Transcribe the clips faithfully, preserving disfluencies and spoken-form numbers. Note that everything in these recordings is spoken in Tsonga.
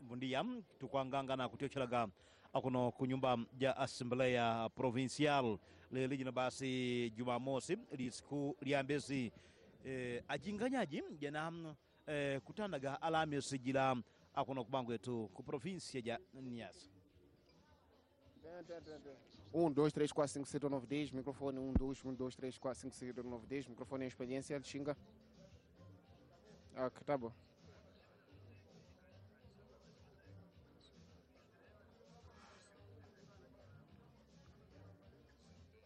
Bom dia, tukwanganga kutiochelaga akuno kunyumba ya Assembleia Provincial lelijina basi Jumamosi lisiku liambezi eh, ajinganyaji jana eh, kutandaga Alhamisi jila akuno kubango yetu ku província ya Niassa. um, dois, três, quatro, cinco, seis, nove, dez. Microfone um, dois, um, dois, três, quatro, cinco, seis, nove, dez. Microfone em experiência, xinga. Ah, tá bom.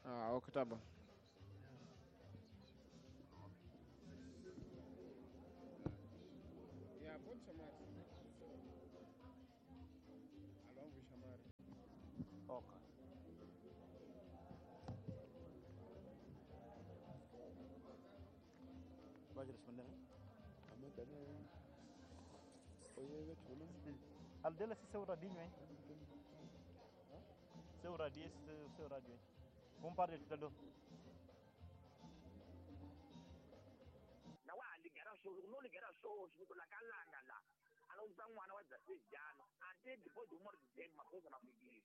Ah, ok, tá bom. Yeah, pode chamar. Alô, vou chamar. Ok. Vai responder, né? Aldela se seu radinho, hein? Seu radinho, esse seu rádio, hein? Vamos parar de tudo. Não há ligar show, não ligar show, não lá calanga lá. A não usar um ano a dezesseis anos, até depois do morte de uma coisa na família.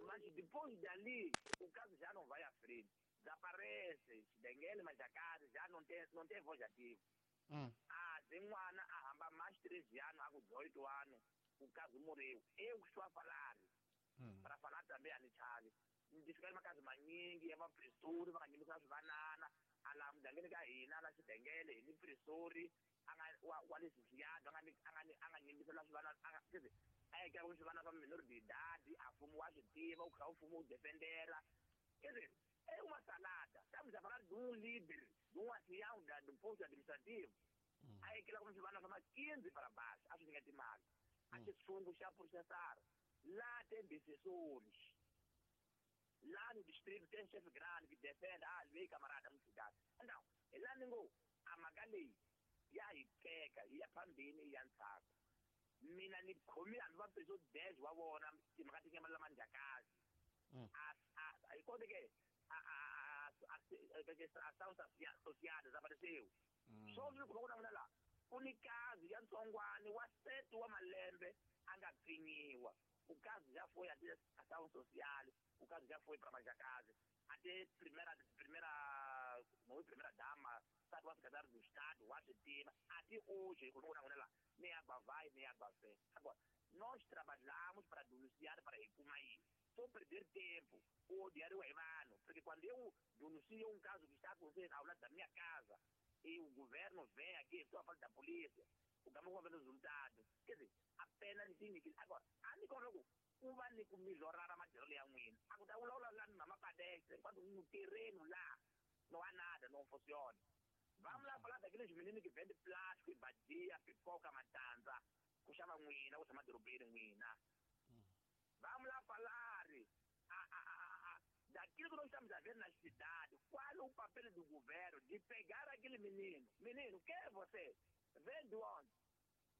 Mas depois dali, o caso já não vai à frente. Desaparece, se dengue, mas a casa já não tem, não tem voz ativa. Hum. Ah, tem um ano, há mais treze anos, há dezoito anos, o caso morreu. Eu estou a falar, hum. para falar também a Nichale. Ndifika makazi maningi ya vapresori va nga nyimisa swivanana a laha mugangeni ka hina la xidengele hi ni presori a nga wa wa le Sisiyado a nga a nga a nga nyimbisela swivanana a nga a eka swivanana swa minor de idade a mfumo wa swi tiva wu kha wu mfumo wu defendela quer é uma salada. Estamos a falar de um líder, de um ancião da, do posto administrativo. A ekela como swivanana swa quinze para baixo, a swi nyika timali a xi xa processar lá tem decisões. Lá no distrito tem chefe grande que defende, ah, lei camarada, muito cuidado. Então, lá ninguém, a magali, e aí queca, e a pandemia, e a nsaco. Mina ni khomi a va peso dez wa vona timhaka ti nyama lama njhakazi. A a a que a a a ação social desapareceu. Só vi ku vona la ku ni kazi ya ntsongwani wa sete wa malembe a nga pfinyiwa. O caso já foi até ação social, o caso já foi para Majacase, até primeira, primeira, não é primeira dama, sabe, o secretário do Estado, o tema, até hoje, lá, nem água vai, nem água vem. Agora, nós trabalhamos para denunciar, para Ecumaí, só perder tempo, o diário é vano, porque quando eu denuncio um caso que está acontecendo ao lado da minha casa, e o governo vem aqui, estou a falar da polícia, o caminho vai resultado, quer dizer, apenas que agora, a ku va ni ku melhorar matirhelo ya n'wina a ku ta vulavula la mama padestre enquanto no terreno lá não há nada, não funciona. Vamos lá falar daqueles meninos que vendem plástico e badia, pipoca, matanza, ku xava n'wina, ku tshama dorobeni n'wina. Vamos lá falar a, a, a, a, daquilo que nós estamos a ver na cidade, qual é o papel do governo de pegar aquele menino? Menino, quem é você? Vem de onde?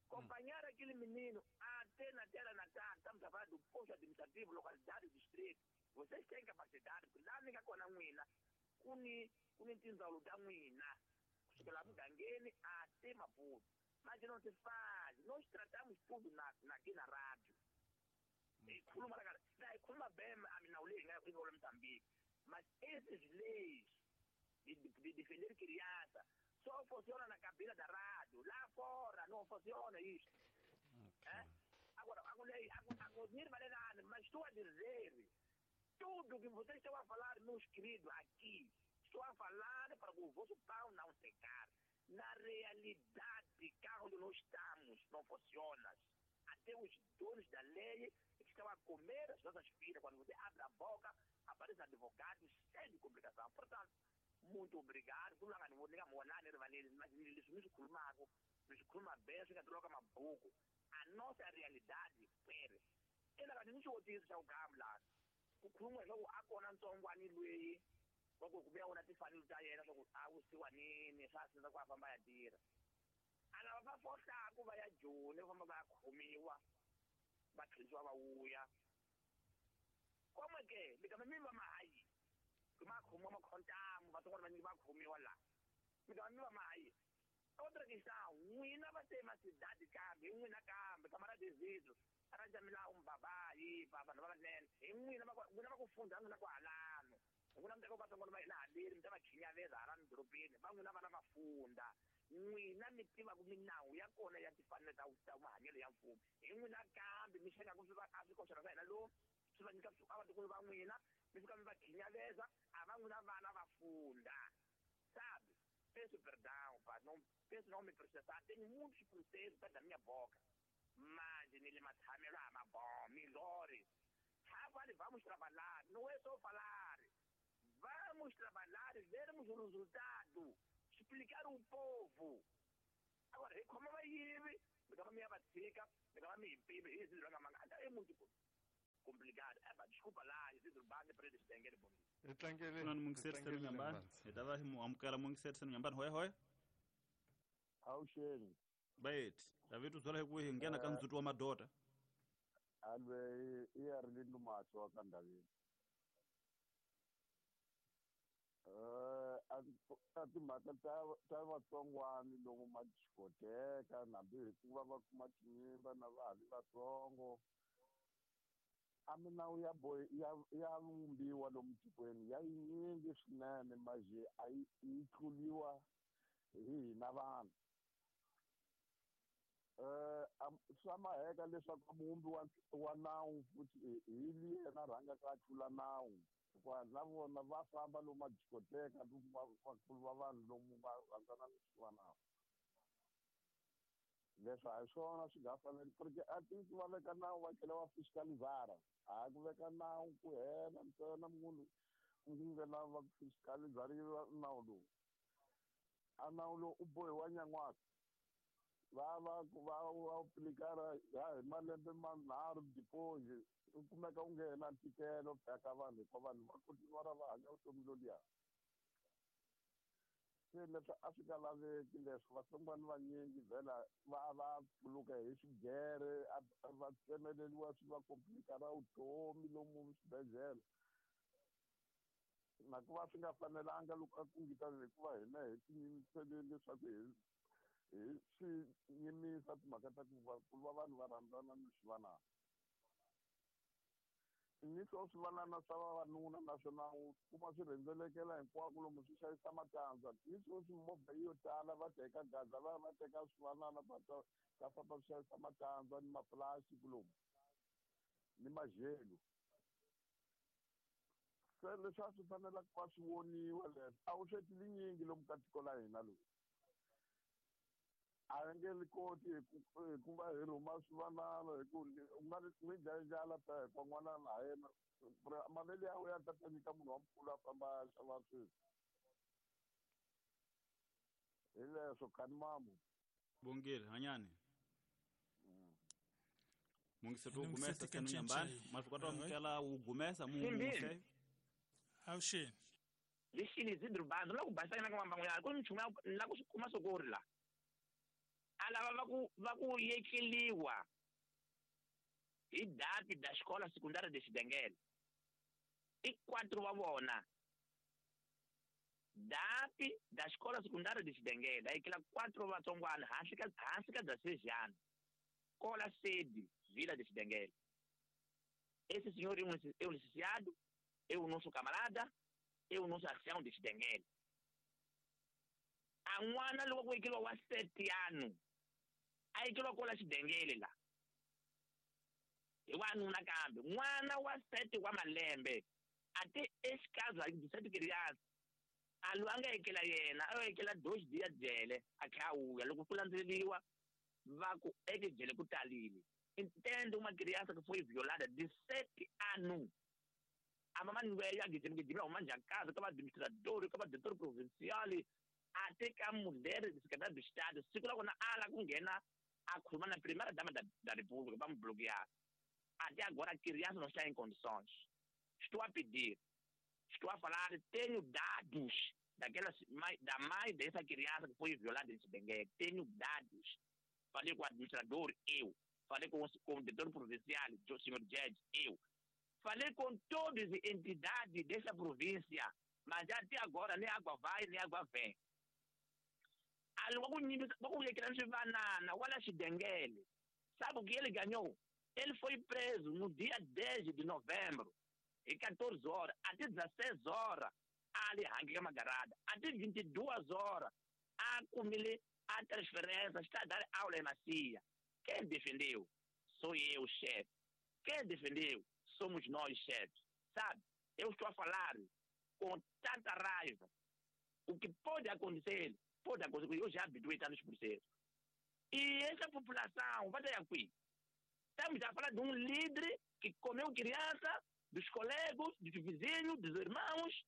Acompanhar hum. aquele menino até na terra natal, estamos a falar do posto administrativo, localidade, distrito. Vocês têm capacidade, porque lá ninguém com a mwina, kuni kuni tindzawulo ta n'wina, kusukela mugangeni até Maputo. Mas não se faz, nós tratamos tudo na, na, aqui na rádio. E khuluma la khuluma bem a mina leyi nga yi Moçambique. Mas essas leis de, de, de defender criança só funciona na cabina da rádio. Lá fora não funciona isso. Okay. É? Agora, agora, agora, mas estou a dizer, tudo que vocês estão a falar, meus queridos, aqui, estou a falar para o vosso pau não secar. Na realidade, cá onde nós estamos, não funciona. Até os donos da lei estão a comer as nossas filhas. Quando você abre a boca, aparecem advogados sem de complicação. Portanto, muito obrigado. A nossa realidade, pere. Ela não se o gamla. Kukhuluma loko akona ntsongwani loyi wa ku kuya wona tifanelo ta yena swa ku a wusiwa nini swa sindza ku a famba ya tirha. A lava va fohlaku va ya Joni va famba va ya khomiwa va tlherisiwa va vuya. Como que mi kama mi va mahayi ma khomiwa makhontamu vatsongwana vanyingi va khomiwa laha mi kama mi va mahayi Outra questão, n'wina va te macidade kambe hi n'wina kambe camarada Isidro aranja um babá aí vanhu va vanene hi n'wina va n'wina va ku fundha n'wina kwalano n'wina mi teka vatsongwana va hina haleni mi ta va khinyaveza hala midorobeni va n'wina vana va funda n'wina mi tivaka minawu ya kona ya timfanelo ta ta mahanyelo ya mfumo hi n'wina kambe mi xengaku swi va a swikoxana swa hina lomu swi va nyika a vatukulu va n'wina mi fika mi va khinyaveza a va n'wina vana va funda sabe. Peço perdão, pá, não, peço não me processar. Tenho muitos processos da minha boca. Mas nele matamela, mas bom, melhores. Vale, vamos trabalhar, não é só falar. Vamos trabalhar e vermos o resultado. Explicar o povo. Agora, como vai ir? Me dá minha batica, me dá minha pibe, isso é muito complicado. É, desculpa lá, Isidro Bande para eles terem bonito. Tlangele mungiseri nyambani hi ta va hi mu amukela mungiseri nyambani hoye hoye awuxeni bayeti David u byela hi ku hi nghena ka ndzhuti wa madota alwe i ya ri ndumatsho wa ka ndaveni eh a timhaka ta ta vatsongwani lomu madiscoteka hambi hikuva va kuma tinyimba na va ha ri vatsongo a minawu ya boy ya ya vumbiwa lomu tikweni ya yinyingi swinene maje a yi yi tluliwa hi hina vanhu eh swa maheka leswaku muvumbi wa wa nawu futhi hi yena rhangaka a tlula nawu hikuva na vona va famba lomu madiscoteka vakulu va vanhu lomu va rhandzana ni swivanawu leswi a hi swona swi nga faneli porque a tiki va veka nawu va tlhela va fiscalizara a ku veka nawu ku hela ntsena munhu ku nge lava ku fiscalizariwa nawu lowu a nawu lowu u bohiwa nyan'waka va va va va aplikara hi malembe manharhu deposit u kumeka u nge na ntikelo ka vanhu hikuva vanhu va kontinuara va hanya vutomi loluya se leswi a swi nga laveki leswi vatsongwana vanyingi vhela va va pfuluka hi swigere va tsemeleliwa swi va komplikara vutomi lomu swibedhlele na ku va swi nga fanelanga loko a kungita hikuva hina hi tiyimisele leswaku hi hi swi yimisa timhaka ta ku ku va vanhu va rhandzana ni swivanana ni swo swivanana swa vavanuna naswona u kuma swi rhendzelekela hinkwako lomu swi xavisa matandza ni sweswi movha yo tala va teka gaza va va teka swivanana va ta va famba swi xavisa matandza ni mapulastiki lomu ni majelo se leswi a swi fanelaka ku va swi voniwa leswi a wu sweti linyingi lomu ka tiko la hina lowu a hi nge li koti hi ku va hi rhuma swivanana hi ku u nga n'wi dlaya ndlala ta hikuva n'wana ha yena mavele ya wena ya ta ta nyika munhu wa mukulu a famba a xava swilo hi leswo khani mamu bongile hanyani mungiseti wu gumesa senu nyambani ma swi kota amukela wu gumesa munguse awuxeni lexini Isidro Bande la ku basana ka mambangu ya ku nchumu la ku swi kuma sokori la a lava va ku va ku yekeliwa hi dati da xikola secundária de Xidengele i quatro wa vona dati da xikola secundária de Xidengele a yekela quatro vatsongwana hansi ka hansi ka dezesseis cola sede Vila de Xidengele. Esse senhor é um, é um licenciado, é o nosso camarada, é o nosso ancião de Xidengele. A n'wana loko ku yekeliwa wa sete anos a yekeliwa kola Xidengele la hi wanuna kambe n'wana wa sete wa malembe a te exikazi a sete criança a loyi a nga yekela yena a yo yekela dois dias jele a tlhela a vuya loko ku landzeleriwa va ku eke jele ku talile entende uma criança que foi violada de sete anos a mamãe ya gijima huma njhani casa ka va-administrador ka va-diretor provincial a teka mulher de secretário do Estado siku la kona ala ku nghena a khuluma na primeira dama da, da República va mu bloquear. Até agora a criança não está em condições. Estou a pedir, estou a falar, tenho dados daquela, da mãe dessa criança que foi violada em Xidengele. Tenho dados. Falei com o administrador, eu. Falei com o, com o diretor provincial, o senhor Jed, eu. Falei com todas as entidades dessa província, mas até agora nem água vai, nem água vem. Ali wa ku nyimbisa wa ku vekela swivanana wala xidengele. Sabe o que ele ganhou? Ele foi preso no dia dez de novembro, e quatorze horas, até dezesseis horas, ali rangue magarada, até vinte e duas horas, a comer a transferência, está a dar aula em Macia. Quem defendeu? Sou eu, chefe. Quem defendeu? Somos nós, chefes. Sabe? Eu estou a falar com tanta raiva. O que pode acontecer, pode acontecer, eu já habituei tantos processos. E essa população, vai ter aqui. Estamos a falar de um líder que comeu criança, dos colegas, dos vizinhos, dos irmãos.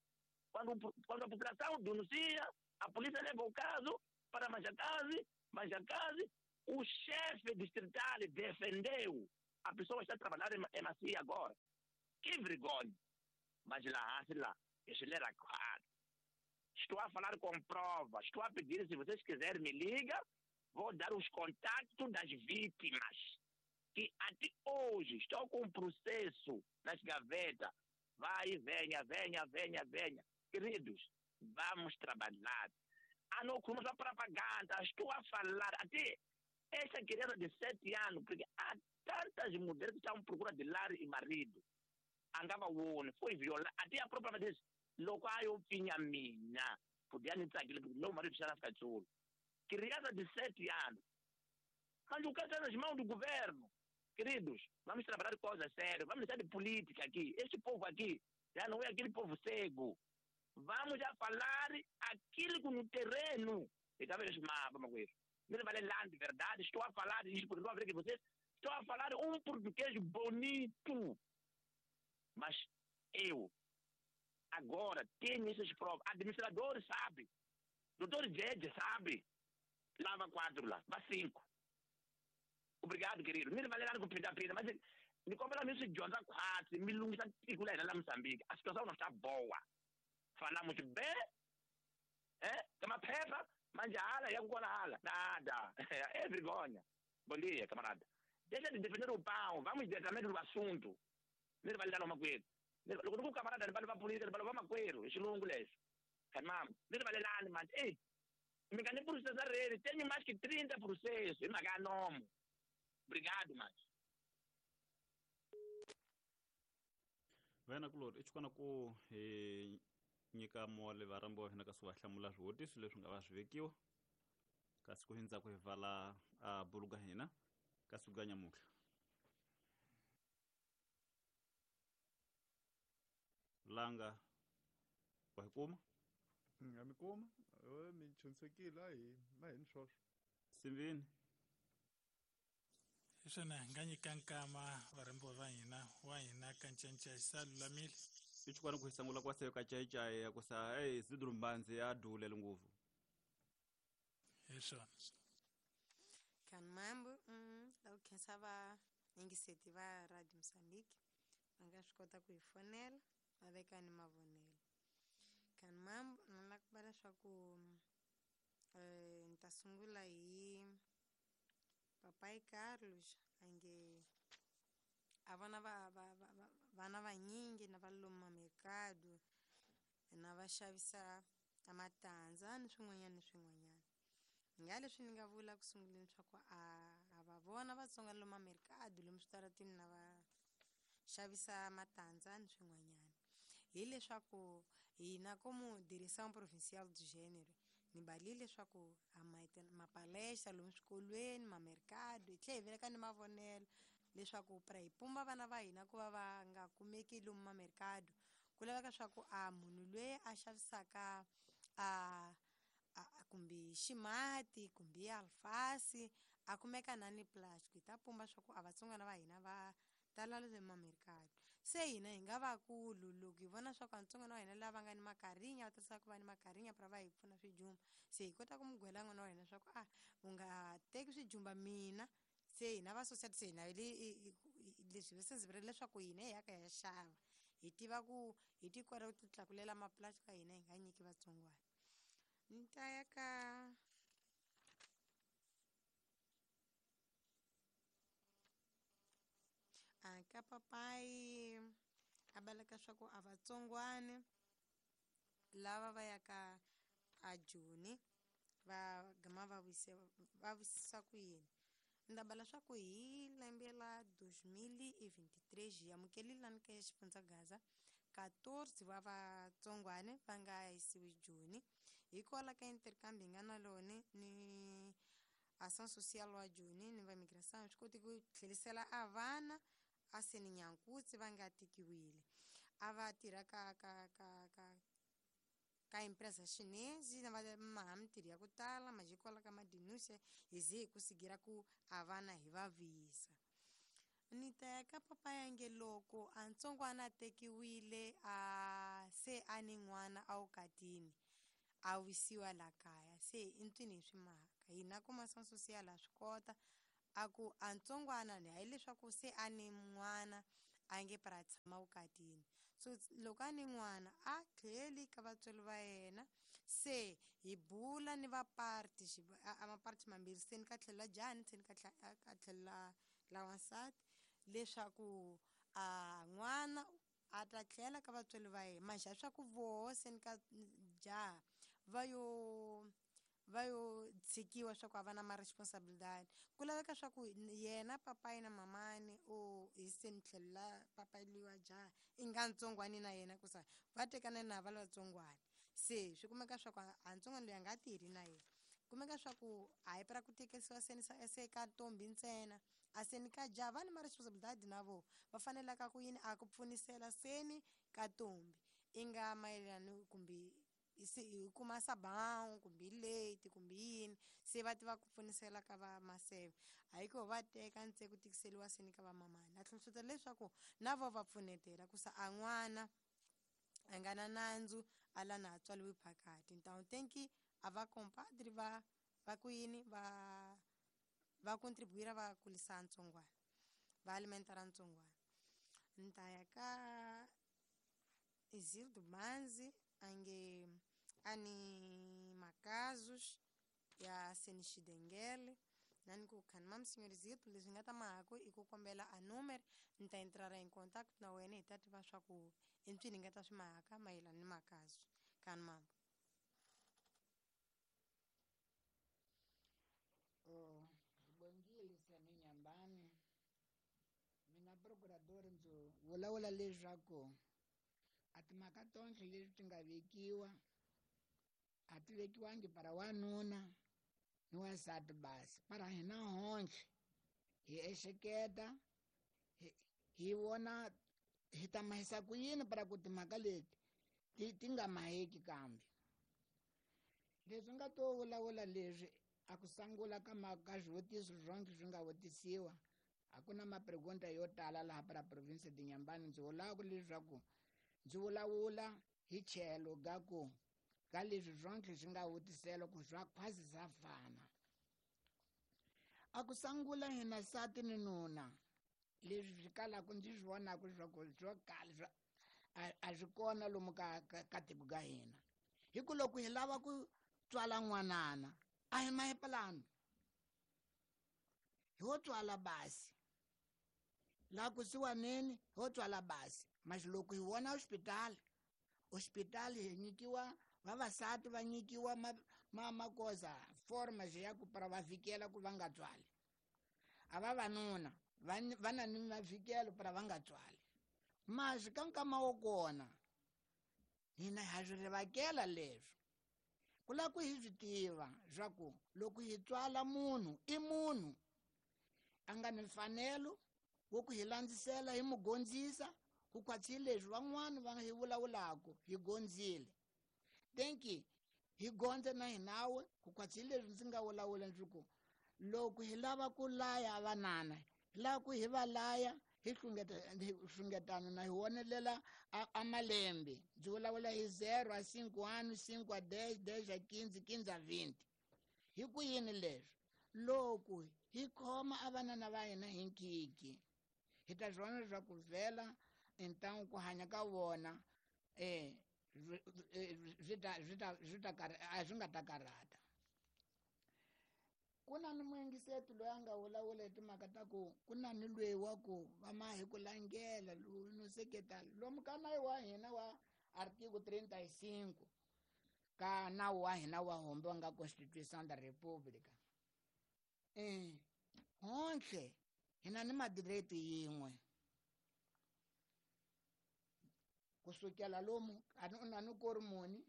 Quando, quando a população denuncia, a polícia leva o caso para Manjacaze, Manjacaze, o chefe distrital defendeu. A pessoa está trabalhando em Macia agora. Que vergonha! Mas lá, lá, esse era claro. Estou a falar com prova, estou a pedir, se vocês quiserem me liga, vou dar os contatos das vítimas, que até hoje estão com um processo nas gavetas. Vai, venha, venha, venha, venha. Queridos, vamos trabalhar. Ah, não, como só propaganda, estou a falar. Até essa criança de sete anos, porque há tantas mulheres que estão à procura de lar e marido. Andava o foi violada. Até a própria mãe disse, logo eu tinha minha. Podia nem estar aquilo, porque meu marido já ficar solo. Criança de sete anos. Mas o caso está nas mãos do governo. Queridos, vamos trabalhar coisas sérias, vamos deixar de política aqui. Este povo aqui já não é aquele povo cego. Vamos a falar aquilo que no terreno. E talvez mapa, mas me vale lá de verdade, estou a falar isto porque não a ver que vocês. Estou a falar um português bonito. Mas eu, agora, tenho essas provas. Administrador sabe. Doutor Jed sabe. Lava quatro lá, vá cinco. Obrigado, querido. Me vale lá com pinta pinta, mas me compra mesmo de Jonathan quatro, me lunga lá Moçambique. A situação não está boa. Falamos bem, é? Toma pepa, mas já ala, já com ala. Nada. É vergonha. Bom dia, camarada. Deixa de defender o pão, vamos diretamente no assunto. Me vale dar uma coisa. O camarada vai levar política, vai levar macueiro, esse longo leso. Irmão, me vale lá, mas ei, me ganhei por processar ele, tenho mais que trinta processos, e me nome. Obrigado, mas. Wena kulori i xikona ku hi nyika mole varambi wa hina kasi va hlamula swivutiso leswi nga va swi vekiwa kasi ku hindza ku hi vala a buluga hina kasi ku ga nyamutlha langa wa hi kuma nga mi kuma mi chunsekile a hi na hini swoswo simbini hi swona hi nga nyika nkama varhambiwa va hina wa hina ka ncancai sa lulamile i xikwana ku hi sangula kwa seyo ka caicai ya ku sa ei Zidro Mbanzi ya dulele ngopfu hi swona kan mambo mm, la ku khensa va yingiseti va Radio Mozambique va nga swi kota ku hi fonela va veka ni mavonelo kan mambo na la ku va leswaku eh, ni ta sungula hi Papai Carlos ange a vana va va va vana vanyingi na va loma mercado na va xavisa a matandza ni swin'wanyana ni swin'wanyana nga leswi ni nga vula ku sunguleni swa ku a a va vona Vatsonga loma mercado lomu switaratini na va xavisa matandza ni swin'wanyana hileswaku hina como direção provincial do gênero ni balile leswaku a mapalestra lomu swikolweni mamercado hi tlhela hi veleka ni mavonelo leswaku pra hi pumba vana va hina ku va va nga kumeki lomu mamercado ku laveka swa ku a munhu loyi a xavisaka a a kumbe ximati kumbe alfasi a kumeka na ni plastic hi ta pumba swa ku a Vatsongana va hina va tala le mamercado se hina hi nga vakulu loko hi vona swa ku vatsongana va hina lava nga ni makarinya va tirhisaka ku va ni makarinya pra va hi pfuna swijumba se hi kota ku mu gwela n'wana wa hina swa ku a u nga teki swijumba mina se hina va society se hina leswi va sensible leswaku hina hi ya ka ya xava hi tiva ku hi ti kota ku ti tlakulela maplastic ya hina hi nga nyiki vatsongwana ni ta ya ka a ka papai a baleka swa ku a vatsongwana lava va yaka a Joni Va gama va wise va wisisa ku yini. Ndaba leswaku hi lembe la dois mil e vinte e três hi amukelile lani ka xifundza Gaza quatorze wa vatsongwane va nga yisiwi Joni hikwalaho ka intercambio hi nga na lone ni ação social wa Joni ni va migração swi koti ku tlherisela a vana a seni Nyankutsi va nga tikiwile a va tirha ka ka ka ka ka empresa chinese na va maha mintirho ya ku tala majikwala ka madinuse hi ze hi ku sigira ku a vana hi va vuyisa. Ni ta ya ka papa yange loko a ntsongwana a tekiwile a se a ni n'wana a wukatini a wisiwa la kaya se i ntwini hi swi mhaka hina kuma ação social a swi kota a ku a ntsongwana ni hayi leswaku se a ni n'wana a nge para tshama wukatini so loko a ni n'wana a tlheli ka vatswari va yena se hi bula ni va party a maparti mambirhi se ni ka tlhela jani se ni ka ka tlhela la wansati leswaku a n'wana a ta tlhela ka vatswari va yena manjhe swa ku voho se ni ka jaha va yo va yo tshikiwa swa ku a va na ma-responsibilidade ku laveka swa ku yena papayi na mamani o hi se ni tlhela papayi liwa jaha i nga ntsongwani na yena ku sa va tekana na va latsongwani se swi kumeka swa ku a ntsongwani loyi a nga tirhi na yena kumeka swa ku a hi pra ku tekisiwa seni se ka ntombi ntsena a seni ka jaha va ni ma-responsibilidade na vo va fanelaka ku yini a ku pfunisela seni ka ntombi i nga mayelana kumbe se hi kuma sabão kumbe leite kumbe yini se va tiva ku pfunisela ka va maseve a hi ko va teka ntse ku tikiseliwa seni ka va mamani a tlhontlhota leswaku na vo va pfunetela ku sa a n'wana a nga na nandzu a la na tswaliwi phakati então tem que a va compadre va va ku yini va va contribuir va kulisa ntsongwana va alimentar ntsongwana. Ni ta ya ka Isildo Manzi ange ani makazus ya Senixidengele nani ku khani mam senhor Isildo leswi nga ta mahako i ku kombela a número ni ta entrar em contato na wena hi ta tiva swa ku i mpfini nga ta swi mahaka mayelana ni makazu khani mambo. Oh, bongile sani Nyambani mina procurador ndzi vulavula leswaku a timhaka tonke leti ti nga vekiwa a ti vekiwangi para wanuna ni wansati basi para hina honhle hi ehleketa hi vona hi ta mahisa ku yini para ku timhaka leti ti ti nga maheki kambe leswi nga to vulavula leswi a ku sangula ka ka swivutiso swonke swi nga vutisiwa a ku na mapregunta yo tala laha para province de Nyambani ndzi vulaka leswaku ndzi vulavula hi tlhelo ga ku ka leswi swonke swi nga vutisela ku swa khwasi swa fana a ku sangula hina sati ni nuna leswi swi kalaka ndzi swi vonaka leswaku swo kala a swi kona lomu ka ka tiko ka hina hi ku loko hi lava ku tswala n'wanana a hi mahepelano hi wo tswala basi laha kusuwaneni hi wo tswala basi mas loko hi vona hospitali hospitali hi nyikiwa vavasati va nyikiwa ma ma magoza forma ya ku para va vikela ku va nga tswali a vavanuna va na ni mavikelo para va nga tswali mas ka nkama wo kona hina ha swi rivakela leswi ku lava ku hi swi tiva swa ku loko hi tswala munhu i munhu a nga ni mfanelo wo ku hi landzisela hi mu gondzisa ku khwatsi leswi van'wani va hi vulavulaka hi gondzile tenki hi gondze na hinawe ku khwatsi leswi ndzi nga vulavula ndzi ku loko hi lava ku laya vanana hi lava ku hi va laya hi hlungetana na hi wonelela a malembe ndzi vulavula hi zero a cinco ano cinco a dez dez a quinze quinze a vinte hi ku yini leswi loko hi khoma a vanana va hina hi nkiki hi ta swi vona leswaku vhela então ku hanya ka vona eh swi ta swi ta swi ta a swi nga ta karhata ku na ni muyingiseti loyi a nga vulavula hi timhaka ta ku ku na ni lweyi wa ku va ma hi ku langela no seketala lomu ka nawu wa hina wa artigo trinta e cinco ka nawu wa hina wa hombe wa nga Constituição da República. Eh, honhle hina ni madireito yin'we. Kusukela lomu kani u na ni kori muni,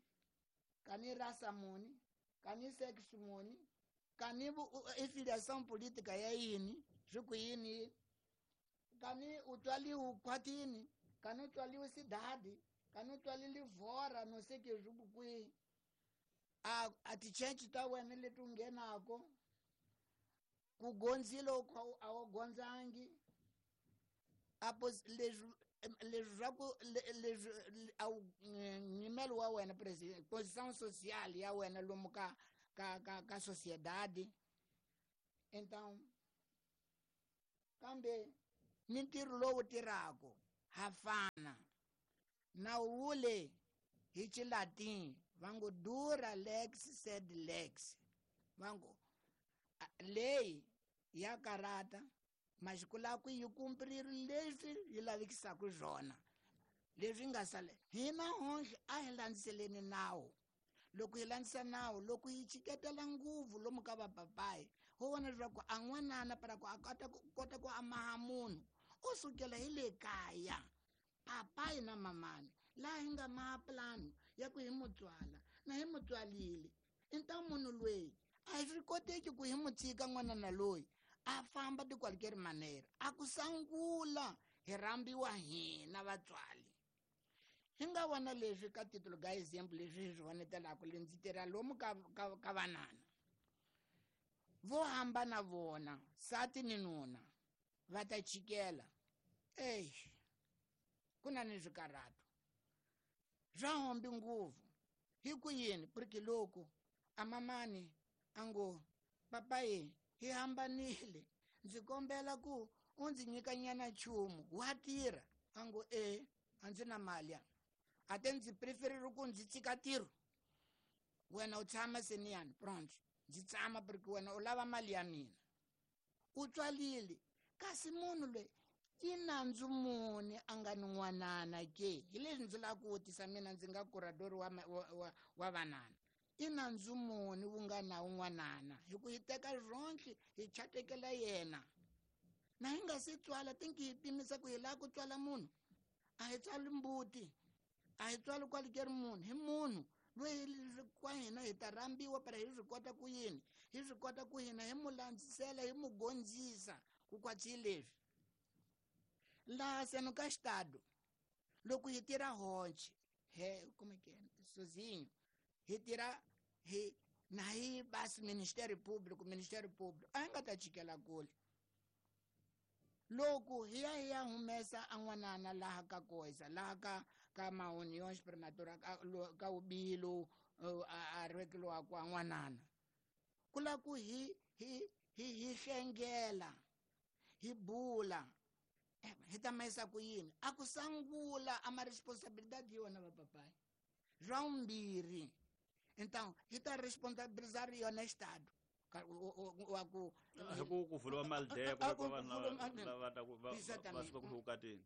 kani rasa muni, kani sex muni, kani affiliação política ya yini, swi ku yini, kani u tswaliwe khwatini, kani u tswaliwe sidadi, kani u tswalile vhora no sei que swi ku kwihi. A a ti-church ta wena leti u nghenako, ku gondzile a wu gondzangi, a leswi leswi swa ku leswi a wu nyimelo wa wena president position social ya wena lomu ka ka ka ka sociedade. Então kambe ni ntirho lowu tirhaka ha fana nawu wule hi Xilatin va ngo dura lex sed lex, va ngo leyi ya karata masiku laku yi kumpirile leswi yi lavikisaka swona leswi nga sale hina honhle a hi landzeleni nawu. Loko hi landzisa nawu, loko hi chiketela nguvu lomu ka vapapayi ho vona leswaku a n'wanana para ku a kota ku kota ku amaha munhu u sukela hi le kaya papayi na mamani laha hi nga maha plano ya ku hi mutswala na hi mutswalile. Inta munhu loyi a swi koteki ku hi mu tshika n'wanana loyi a famba de qualquer maneira. A ku sangula hi rhambiwa hina vatswali. Hi nga vona leswi ka titulo ga example leswi hi swi vonetelaka le ndzi tirha lomu ka ka ka vanana vo hambana vona sati ni nuna va ta chikela. Ey, ku na ni swikarhato swa hombi nguvu hi ku yini, porque loko a mamani a ngo papayi hi hambanile ndzi kombela ku u ndzi nyika nyana nchumu wa tirha, a ngo e a ndzi na mali ya a te ndzi preferire ku ndzi tshika ntirho wena u tshama seniyani pronto ndzi tshama porque wena u lava mali ya mina. U tswalile kasi munhu loyi i nandzu muni a nga ni n'wanana ke? Hi leswi ndzi lava ku vutisa mina ndzi nga curador wa wa wa vanana, i nandzu muni wu nga na un'wanana hi ku hi teka ronhle hi chatekela yena na hi nga se tswala tinki hi pimisa ku hi lava ku tswala munhu a hi tswali mbuti a hi tswali kwalikeri munhu hi munhu loyi kwa hina hi ta rhambiwa para hi swi kota ku yini hi swi kota ku hina hi mu landzisela hi mu gondzisa ku kwatsi leswi laha seno ka xitado loko hi tirha honche he como que sozinho hi tirha hi na hi basi Ministério Público Ministério Público a hi nga ta chikela kule loko hi ya hi ya humesa a n'wanana laha ka koisa laha ka ka mauniões prematura ka, ka ubilo a rhekeliwa kwa n'wanana ku la ku hi hi hi hi hlengela hi bula hi ta mayisa ku yini a ku sangula a ma responsabilidade yona vapapayi swa vumbirhi. Então hi ta responsabilizar yona Estado wa ku hi ku ku vuriwa mali ku ku vanhu lava ta ku va va suka ku vukatini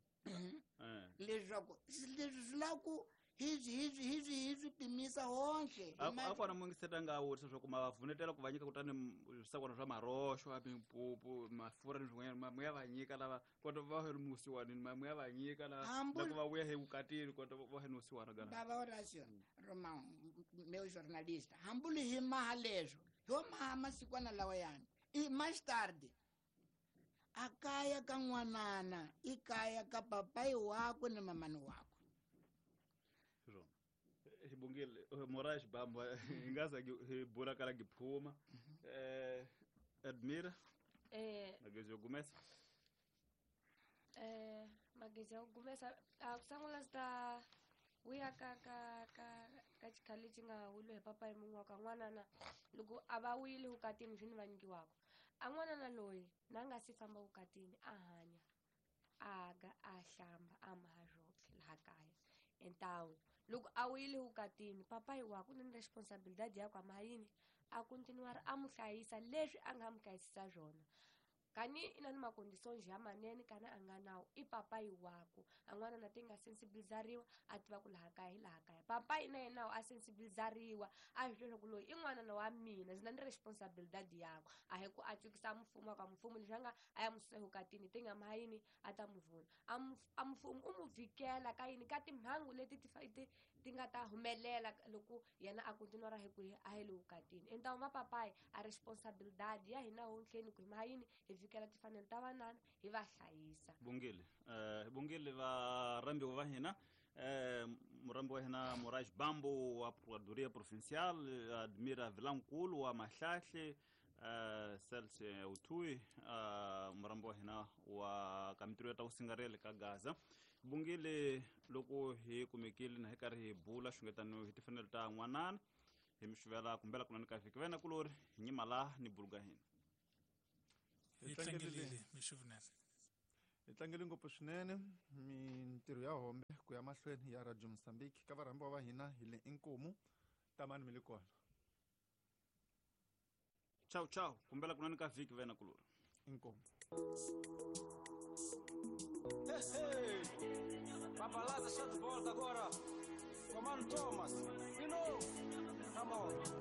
leswaku leswi swi lava ku hi swi hi swi hi swi hi swi pimisa honhle a kona mungiseta nga vutisa swa ku ma va vunetela ku va nyika kutani swakudya swa maroxo a mimpupu mafurha ni swin'wanyana ma ya va nyika lava kota va he musiwanini ma ya va nyika lava loko va vuya evukatini kota va he musiwana gana baba Horacio Romão meu jornalista hambuli hi maha leswo ho maha masikwana lawa yani i mais tarde a kaya ka n'wanana i kaya ka papai wakwe ni mamani wakwe. Xibungile Moraes Bamba hi nga za hi bula kala giphuma eh Admira eh magezi yo gumesa eh magezi yo gumesa a kusangula sta wuya ka ka ka ka xikhale xi nga wile hi papa hi mun'we wa ka n'wanana loko a va wile vukatini swi ni va nyikiwaka a n'wanana loyi na nga si famba vukatini a hanya a ga a hlamba a maha swotlhe laha kaya. Então loko a wile vukatini papai wa ku ni responsabilidade ya ku ama yini a continuar a mu hlayisa leswi a nga mu hlayisisa swona Kani ina ni makonditions ya manene kana a nga nawo i papayi waku a n'wana na ti nga sensibilizariwa a tiva ku laha kaya hi laha kaya papayi na yena a sensibilizariwa a swi tiva ku loyi i n'wana wa mina ndzi na ni responsibilidade yakwe a hi ku a cukisa mfumo ka mfumo leswi a nga a ya mususa evukatini ti nga ma yini a ta mu vuna a mfumo u mu vhikela ka yini ka timhangu leti ti ti ti nga ta humelela loko yena a kontinua hi ku a hi le vukatini entawu va papayi a responsibilidade ya hina hontlheni ku hi ma yini hi vhikela timfanelo ta vanana hi va hlayisa bongile eh bongile va rambiwa va hina eh murambi wa hina Moraes Bambo wa Procuradoria Provincial Admira Vilankulu wa Mahlahle eh Celso Utui murambi wa hina wa kamitiro ya ta usingarele ka Gaza bongile loko hi kumekile na hi karhi hi bula xungetano hi timfanelo ta n'wanana hi mi xuvela kumbela kunani ka vhiki vena kulori hi nyima la ni buluga hina hi tlangelile mixuvinene hi tlangele ngopfu swinene mintirho ya hombe ku ya mahlweni ya Radio Mozambique ka varhambiwa va hina hi le inkomu tamani mi le kona ciao ciao kumbela kunani ka vhiki vena kulori inkomu Hey, hey. Papalaza está de volta agora. Comando Thomas. De novo. Come on.